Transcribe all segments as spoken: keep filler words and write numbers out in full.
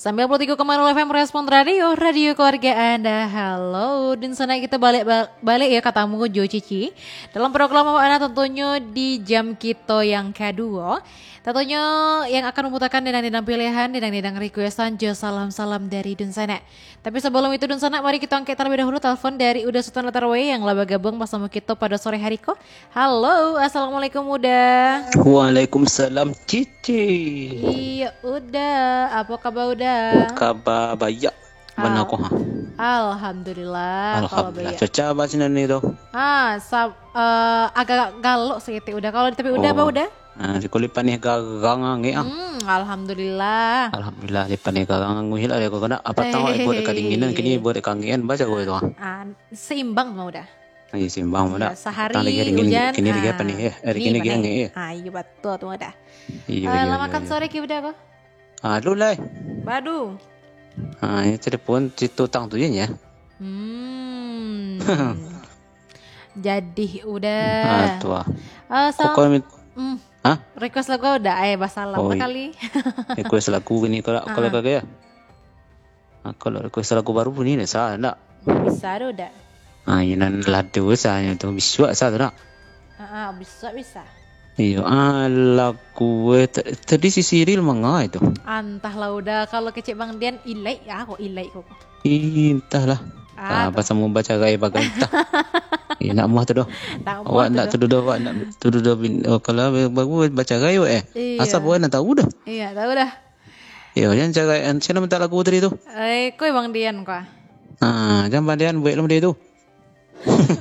Sembilan puluh tiga koma nol F M Respon Radio, radio keluarga Anda. Halo, dunsanak, kita balik ba-, balik ya katamu jo Cici dalam program Mama Ana, tentunya di jam kita yang kedua. Tentunya yang akan memutarkan dendang-dendang pilihan, dendang-dendang requestan, jo salam-salam dari dunsanak. Tapi sebelum itu, dunsanak, mari kita angkat terlebih dahulu telepon dari Uda Sultan Latarwe yang lah bergabung bersama kita pada sore hari ko. Halo, assalamualaikum Uda. Waalaikumsalam Cici. Iya Uda, apa kabar Uda? Kabar baik. Mana Al- ko ha? Alhamdulillah, kalau Alhamdulillah. Baik. Cuaca apa sinan ni tu? Ah, sab- eh, agak galok sedikit Uda. Kalau di tapi Uda apa Oh. Uda? Ah, di kulit panih garang angin ah. Hmm, alhamdulillah. Alhamdulillah, di panih garang angin lah dia kena apa tahu Eh. Buat kadinginan kini buat kangen baca gue tu ah. Ah, seimbang mah Uda. Iya, seimbang mah Uda. Iya, sehari Petang lagi dingin, hujan, kini lagi ah, panih ya. Hari ni kini lagi panih. Angin ya. Ah, iya betul tu Uda. Iya, Ah, iya, lah iya, makan iya. Sore ki Uda ko? Ah, lu lah. Badu. Ah, ini telepon cerita utang tu je ya. Hmm. Jadi Uda. Ah, tu ah. Ah, Kok sal- kau mit- Hmm. Hah? Request lagu Uda, eh, basalam Oh, lah iya. Kali. Request lagu ni kalau kalau Ah. Kagak ya? Ah, kalau request lagu baru ni dah salah ndak? Bisa tu Uda. Ah, ini nan lado sahanyo tu bisuak sa tu nak. Ah, ah, bisa bisa. Iyo, ah, lagu eh, ta- tadi si Siril manga itu. Antahlah Uda, kalau kecek Bang Dian ilai ya kok ilai kok. Ih, entahlah. Ah, Ah, tu. Pasal mau baca gai bagai entah. Eh, nak muah tu doh. Tak muah Awak tu nak doh. Tuduh doh, awak nak tuduh doh bin, oh, kalau baru baca gai awak eh. Iya. Asal awak nak tahu dah. Iya, tahu dah. Yo, jan cagai, an, siapa minta lagu tadi tu? Eh, koi Bang Dian kah? Ah, jan Bang Dian buek lah dia tu.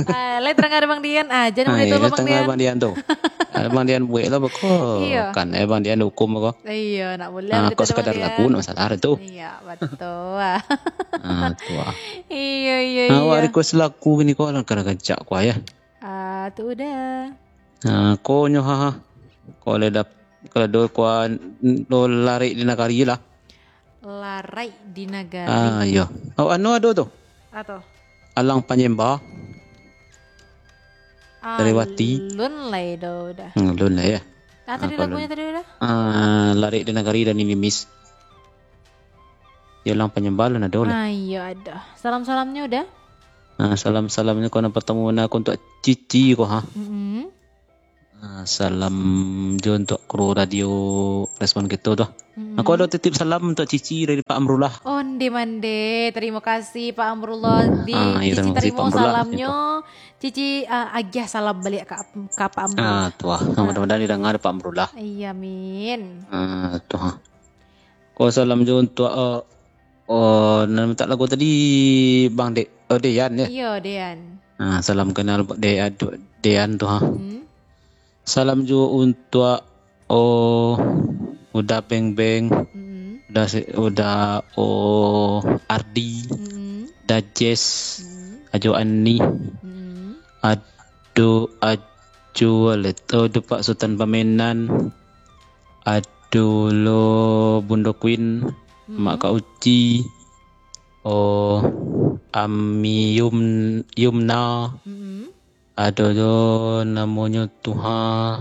Ah, lai terang ada Bang Dian. Ah, jan Ah, boleh iya, tolong Bang tengah Dian. Bang Dian tu. Ada Bang Dian buek lah beko. Iya. Kan eh Bang Dian hukum beko. Iya, nak boleh Ah, kita kau ada Bang sekadar Dian. Lagu nak masalah tu. Iya, betul. Ah, tu ah. Iya, iya, Nah, awak iya. Request lagu gini kau lah kena kencak kau ya. Ah, tu dah. Ah, kau nyo ha ha. Kau le dap kalau do kau do larik di nagari lah. Larik di nagari. Ah, iya. Oh, anu ado tu. Ato. Alang Panyemba. Ah, Dari Wati. Lun lai do dah. Hmm, lun lah ya. Ah, tadi Ah, lagunya lun. Tadi dah. Ah, larik di nagari dan ini miss. Ya, Alang Panyemba lun ado lah. Ah, iya ada. Salam-salamnya udah. Ah, salam-salamnya kau nak pertemu nak untuk Cici kau ha. Mm-mm. Ah, salam jo untuk kru radio Respon Kito tu. Mm-mm. Aku ada titip salam untuk Cici dari Pak Amrullah. Onde mande, terima kasih Pak Amrullah. Di Ah, ya, Cici terima kasih, terima Pak Amrullah. Salamnya. Cici ah, agiah salam balik ke, ke Pak Amrullah. Ah, tu ah. Ah. Mudah-mudahan didengar Pak Amrullah. Iya, amin. Ah, tu ah. Ko salam jo untuk, eh, oh, nan mintak lagu tadi Bang De, oh, Dean ya. Iyo, Dean. Ah, salam kenal De, Dean tu ha. Hmm. Salam jo untuk oh Uda Beng Beng, Hmm. Uda si- Uda oh Ardi, Hmm. Uda Jess, Hmm. Ajo Ani, Hmm. Ado Ajo Leto, Ado Pak Sutan Pamenan, Ado lo Bundo Queen, Hmm. Mak Kak Uci, oh Ami Yum, Yumna, Hmm. Ado jo namonyo tu ha.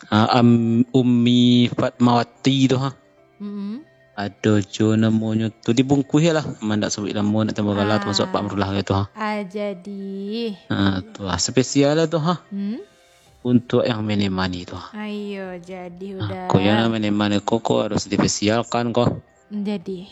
Ah, am, Ummi Fatmawati tu ha. Mm-mm. Ado jo namonyo tu dibungkuih lah. Mandak sabuik namo nak tambah gala tu masuk Pak Amrullah gitu ha. Ah, jadi. Ah, tu ha. Spesial lah tu ha. Hmm? Untuk yang menemani tu ha. Ayo, jadi Ah, udah. Ko yang menemani ko, ko harus dispesialkan ko. Jadi.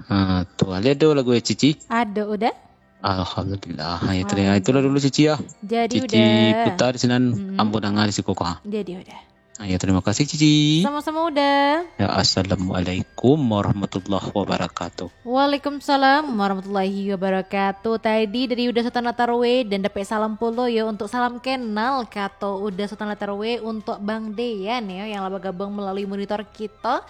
Ah, tu ha. Ada lagu ya Cici? Ada udah. Alhamdulillah. Ya, terima. Itulah dulu Cici ya. Jadi Cici udah. Putar sinan Mm-mm. Ambo dengar di siko ko ha. Jadi udah. Ya, terima kasih Cici. Sama-sama udah. Ya, assalamualaikum warahmatullahi wabarakatuh. Waalaikumsalam warahmatullahi wabarakatuh. Tadi dari Uda Sultan Latarwe dan dapat salam pulo yo untuk salam kenal kato Uda Sultan Latarwe untuk Bang Dean yo yang lah bergabung melalui monitor kita.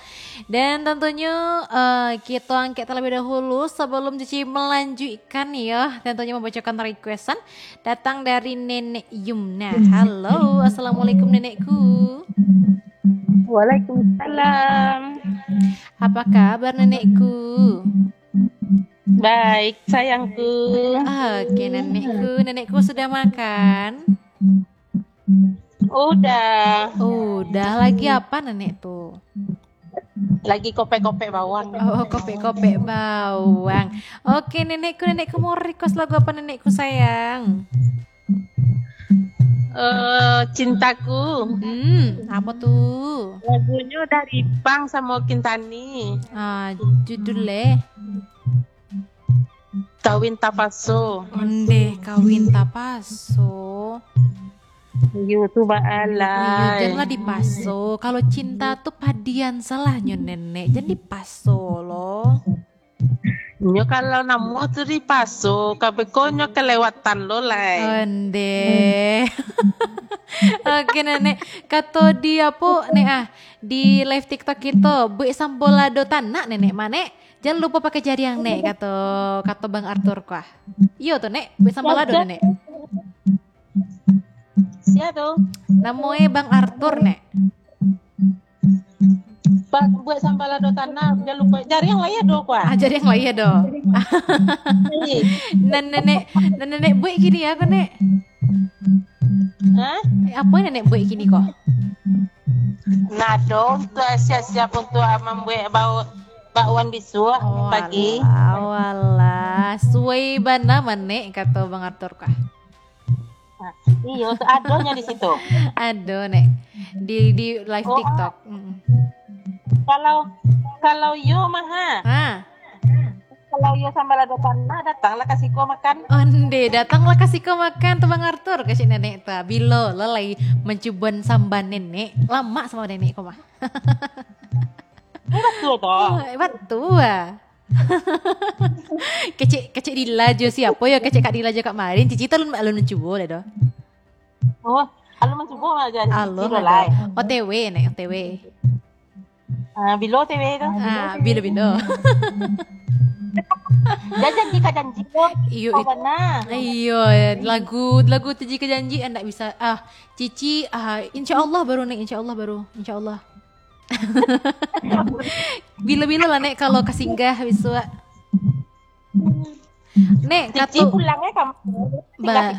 Dan tentunya eh, kita angkat terlebih dahulu sebelum Cici melanjutkan yo. Tentunya membacakan requestan datang dari Nenek Yumna. Halo, assalamualaikum nenekku. Waalaikumsalam. Apa kabar nenekku? Baik, sayangku. Oke, nenekku. Nenekku sudah makan? Udah. Udah, lagi apa nenek tu? Lagi kopek-kopek bawang. Oh, kopek-kopek bawang. Oke, nenekku, nenekku mau request lagu apa, nenekku sayang? Eh, Cintaku. Hmm, apa tu? Lagunyo dari Pang samo Kintani. Ah, judulnya? Kawin Tapaso. Ondeh, Kawin Tapaso. Iyo tu baalai. Iyo, janlah dipaso. Kalau cinta tu padian salahnyo, Nenek. Jan dipaso lo. Nyo kalau namuah tu dipaso, kabeko nyo kelewatan lo lai. Ondeh. Oke, Nenek. Kato di apo, Nek, ah? Di live TikTok kito, buek sambalado tanak, Nenek, mah, Nek. Jan lupo pakai jariang, Nek, kato, kato Bang Arthur ko ah. Iyo tu, Nek, buek sambalado, Nek. Sia tu? Namo e Bang Arthur, Nek. Ba-, buek sambalado tanak, jan lupo. Jariang lai ado ko ah. Ah, jariang lai ado. Nan nenek, nan nenek buek kini apo, Nek? Hah? Eh, apo nan nenek buek kini ko? Nah, dong, tu siap-siap untuk mambuek bau bakwan bisuak pagi. Oh, alah, alah. Suai bana mah, Nek, kato Bang Arthur ko ah. Nah, iyo, tu adonyo di situ. Ado, Nek. Di, di live TikTok. Mm-mm. Kalau, kalau iyo mah, ha? Ha. Kalau iyo sambalado tanak, datanglah ka siko makan. Ondeh, datanglah ka siko makan tu Bang Arthur, kecek nenek tu. Bilo lo lai mancubo samba nenek. Lamak samo nenek ko mah. Batua tu. Oh, batua. Kecek, kecek Dila jo siapo yo, kecek Kak Dila jo Kak Marin, Cici tu alun, alun mancubo lai doh. Oh, alun mancubo aja. Alun lah lai. O T W, Nek, O T W. Ah, bilo O T W tu? Ah, bilo-bilo. Jan janji ka janji tu. Iyo, iyo, lagu, lagu tu jika janji, ah, ndak bisa. Ah, Cici, ah, insya Allah baru, Nek, insya Allah baru, insya Allah. Bilo-bilo lah, Nek, kalau ka singgah bisuak. Nek, Cici kato pulang eh kampung. Ba-,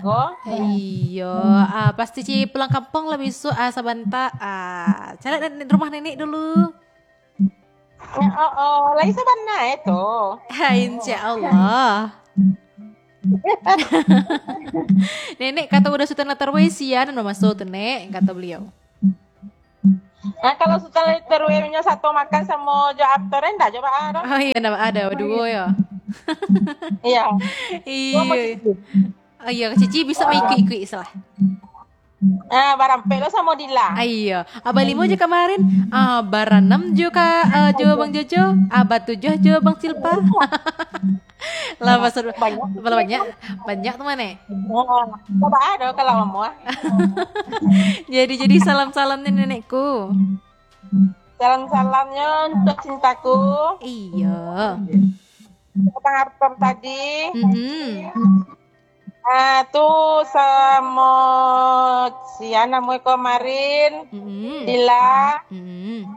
iyo, ah, pasti Cici pulang kampung lah bisuak, ah, sabanta. Ah, caliak rumah nenek dulu. Ya, oh, oh, lai sabana eh tu. Ha, insya Allah. Nenek kato udah Sutan Latar weh, sia nan mamaso tu, Nek, kato beliau. Nah, kalau Sutan Latar weh nyo sato makan samo jo Arthur, ndak jo baa doh. Oh iyo, ndak baa doh, duo yo. Iyo. Iyo. Oh iyo, Cici bisa maikuik-ikuik salah. Ah, barampek lo samo Dila. Ah, iyo. Ah, balimo jo kamarin. Ah, baranam jo ka, ah, jo Bang Jojo. Ah, batujuah jo Bang Silpa. Lah, pasal banyak. Banyak, banyak tu mah, Nek. Oh, coba ado kalau mau. Jadi, jadi salam-salamnya nenekku. Salam-salamnya untuk cintaku. Iyo. Bang Arthur tadi. Mm-mm. Ah, tu samo sia namo kamarin, Mm-mm. Dila, Mm-mm.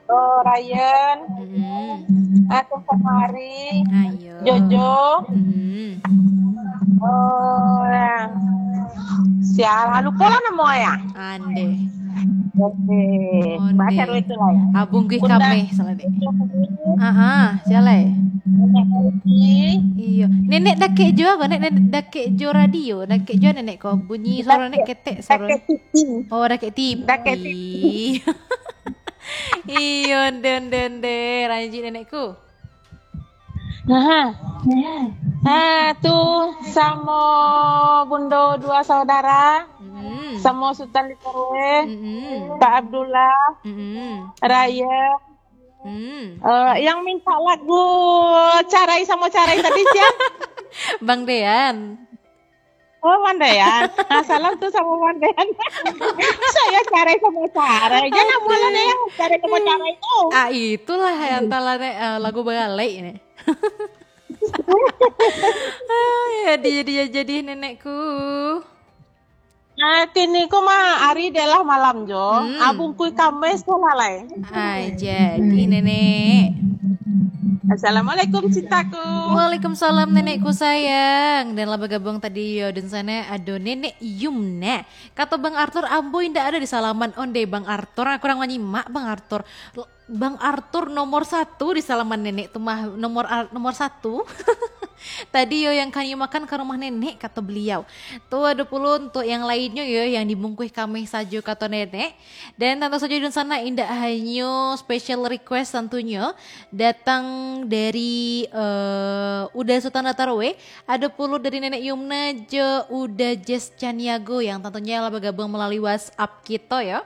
oh, Ryan, Mm-mm. ah, tu kamari, Ayo. Jojo, Mm-mm. oh, ya. Sia lah, lupo lah namo ya. Ande. Oke. Onde. Baca dulu itu lah ya. Abung Guih Bunda. Kameh salah dek. Ah, ah, sia lai. Bunda Uci. Iyo. Nenek dakek jo ko, Nek, Nenek dakek jo radio, dakek jo nenek ko. Bunyi suaro Nek ketek suaro. Dakek T V. Oh, dakek T V. Dakek T V. Iyo, onde, onde, onde. Ranji nenekku. Nah, nah, tu samo Bundo dua saudara, Mm. samo Sutan Likorwe, Mm-mm. Kak Abdullah, Mm-mm. Raya, Mm. eh, yang minta lagu Carai samo Carai tadi sia? Bang Dean. Oh, Bang Dean. Ah, salam tu samo Bang Dean. Saya Carai samo Carai. Jangan Aduh. Malah deh yang Carai samo Carai tu. Ah, itulah yang antara, eh, lagu baralek ini. Ah, ya, jadi, jadi, jadi nenekku. Nah, kini ku mah hari dia lah malam jo. Hmm. Abung kui kames tu lah lai. Ai, jadi nenek. Assalamualaikum, cintaku. Waalaikumsalam, nenekku sayang. Dan lah bagabuang tadi yo, dan sana ado Nenek Yumna. Kato Bang Arthur, ambo indak ado di salaman. Onde Bang Arthur, aku kurang manyimak Bang Arthur. Bang Arthur nomor satu di salaman nenek tu mah, nomor ar- nomor satu. Tadi yo yang kami makan ka rumah nenek, kato beliau. Tu ado pulo untuk yang lainnyo yo, yang dibungkuih kami sajo, kato nenek. Dan tantu sajo di sana indak hanyo special request tantunyo datang dari uh, Uda Sultan Latarwe, ado pulo dari Nenek Yumna jo Uda Jess Caniago yang tantunyo lah bagabuang malalui WhatsApp kito yo.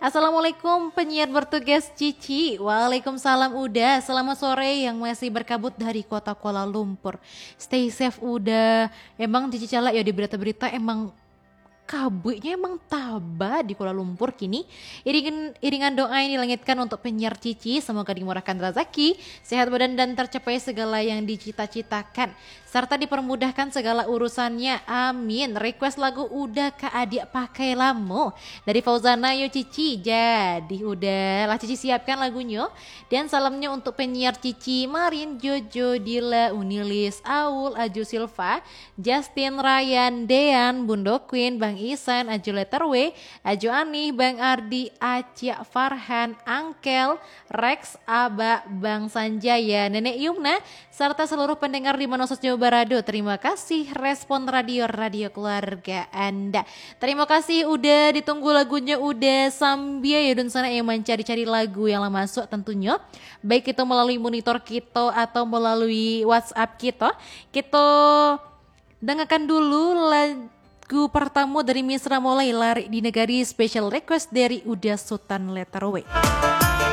Assalamualaikum penyiar bertugas Cici. Waalaikumsalam Uda. Selamat sore yang masih berkabut dari kota Kuala Lumpur. Stay safe Uda. Emang Cici calak yo di berita-berita, emang kabuiknyo emang taba di Kuala Lumpur kini. Iringan, iringan doa yang dilangitkan untuk penyiar Cici, semoga dimurahkan razaki, sehat badan dan tercapai segala yang dicita-citakan, serta dipermudahkan segala urusannya. Amin. Request lagu Uda Ka Adiak Pakai Lamo dari Fauzana yo Cici. Jadi Uda, lah Cici siapkan lagunyo. Dan salamnyo untuk penyiar Cici, Marin, Jojo, Dila, Unilis, Aul, Aju Silva, Justin, Ryan, Dean, Bundo Queen, Bang Isan, Aju Letter W, Aju Anih, Bang Ardi, Acik Farhan, Angkel, Rex, Abak, Bang Sanjaya, Nenek Yumna, serta seluruh pendengar di mana sajo barado. Terima kasih Respon Radio, radio keluarga Anda. Terima kasih Uda, ditunggu lagunyo Uda, sambia yo dunsanak yang mancari-cari lagu yang lah masuk tantunyo. Baik itu melalui monitor kito atau melalui WhatsApp kito. Kito dangakan dulu lagu partamo dari Misra Molai, Larik di Nagari, special request dari Uda Sultan Letter W.